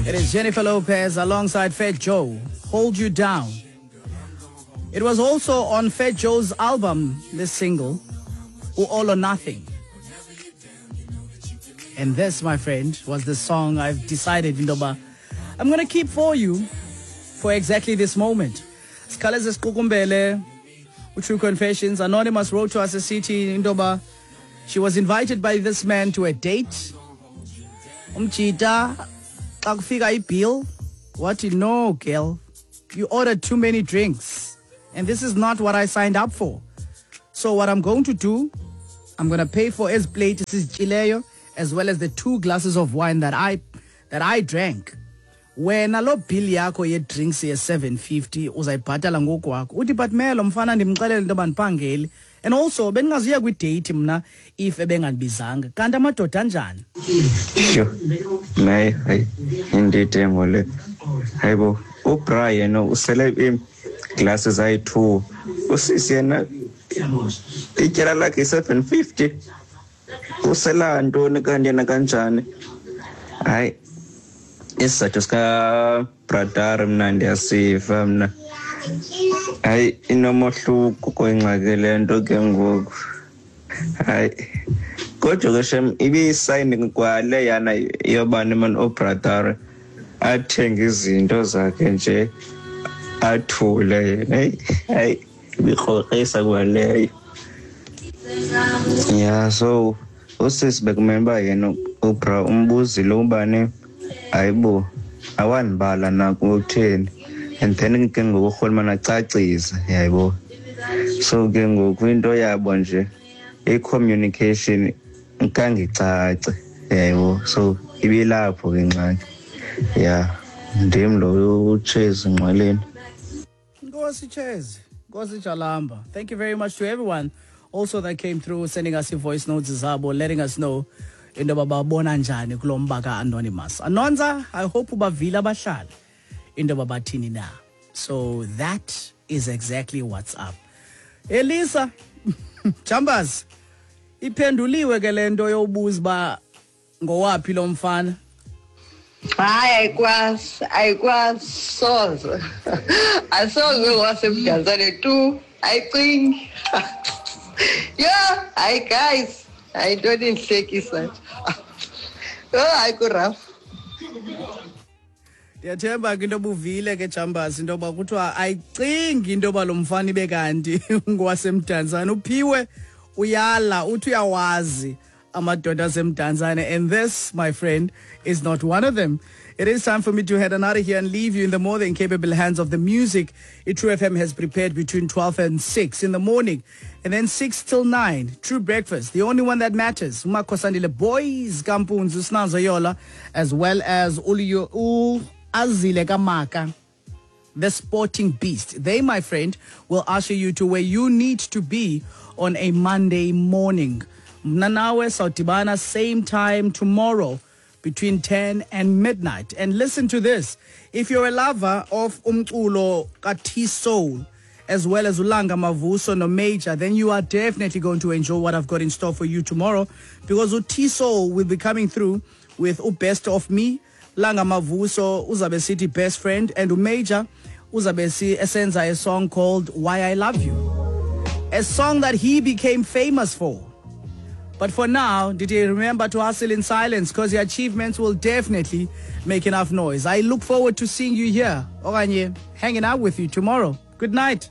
It is Jennifer Lopez alongside Fat Joe, Hold You Down. It was also on Fat Joe's album, this single, All or Nothing. And this, my friend, was the song I've decided, Ndoba, I'm going to keep for you for exactly this moment. Sikhale siqukumbele True Confessions. Anonymous wrote to us esithi intoba she was invited by this man to a date. Umjita xa kufika ibill wathi, "No girl, you ordered too many drinks and this is not what I signed up for. So what I'm going to do, I'm going to pay for ezi plate sizityileyo as well as the 2 glasses of wine that I drank. Wena lo bill yakho ye-drinks ye-750 uzayibhatala ngokwakho." Uthi, "But melo mfana ndimxelele into yoba ndiphangeli and also bendingazuya kwidate mna if ebengandibizanga. Kanti amadoda anjani?" Sho, naye hayi, indidemo le. Hayibo, ubra yena usele iiglasses ayi-2, usisi yena ityala lakhe i-750. Usela ntoni kanti yena kanjani? Hayi, isizathu sikabradar mna ndiyasiva mna. Hayi, inomohluko kwengxaki le nto ke ngoku. Hayi, kodwa ke shem, ibiyisayini kwale yana yobani mani ubradar athenge izinto zakhe nje athule yena. Heyi, hayi, ibikrokrisa kwaleyo. Ya, so usisi bekumele uba yena ubra umbuzile ubani, hayibo, awandibala nakutheni, and then ke ngoku urhulumane acacise, yayibo. So ke ngoku into yabo nje i-communication kangicace, yayibo. So ibilapho ke ingxaki. Ya, ndim lo uChezi Ngqweleni. Nkosi Chezi, Nkosi Jalamba. Thank you very much to everyone also that came through, sending us voice notes zabo, letting us know into yoba babona njani kulo mba ka-Anonymous. Anonza, I hope ubavile abahlali into yoba bathini na. So that is exactly what's up. Elisa Chambers, iphenduliwe ke le nto yobuza uba ngowaphi lo mfana? Hayi, ayikwazi, ayikwazi, soze, asoze waseMdantsane tu, ayicingi. Yho, hayi guys, hayi, intoni indihlekisa nje. Yho, hayi, kurafu. Ndiyathemba ke into obuvile ke Jambas, into yoba kuthiwa ayicingi into yoba lo mfana ibe kanti ngowaseMdantsane. Uphiwe uyala, uthi uyawazi amadoda aseMdantsane, and this, my friend, is not one of them. It is time for me to head on out of here and leave you in the more than capable hands of the music True FM has prepared between 12 and 6 in the morning. And then 6 till 9, True Breakfast, the only one that matters. Umakosandile Boys, Kampunzu, Snazo Yola, as well as Uliyo U Azile Kamaka, the Sporting Beast. They, my friend, will usher you to where you need to be on a Monday morning. Mna nawe sawudibana same time tomorrow between 10 and midnight. And listen to this. If you're a lover of umculo ka-T-Soul, as well as Ulanga Mavuso no Major, then you are definitely going to enjoy what I've got in store for you tomorrow, because T-Soul will be coming through with Best of Me, Langa Mavuso uzabe sithi Best Friend, and Major uzabe esenza a song called Why I Love You, a song that he became famous for. But for now, did you remember to hustle in silence? Because your achievements will definitely make enough noise. I look forward to seeing you here, okanye hanging out with you tomorrow. Good night.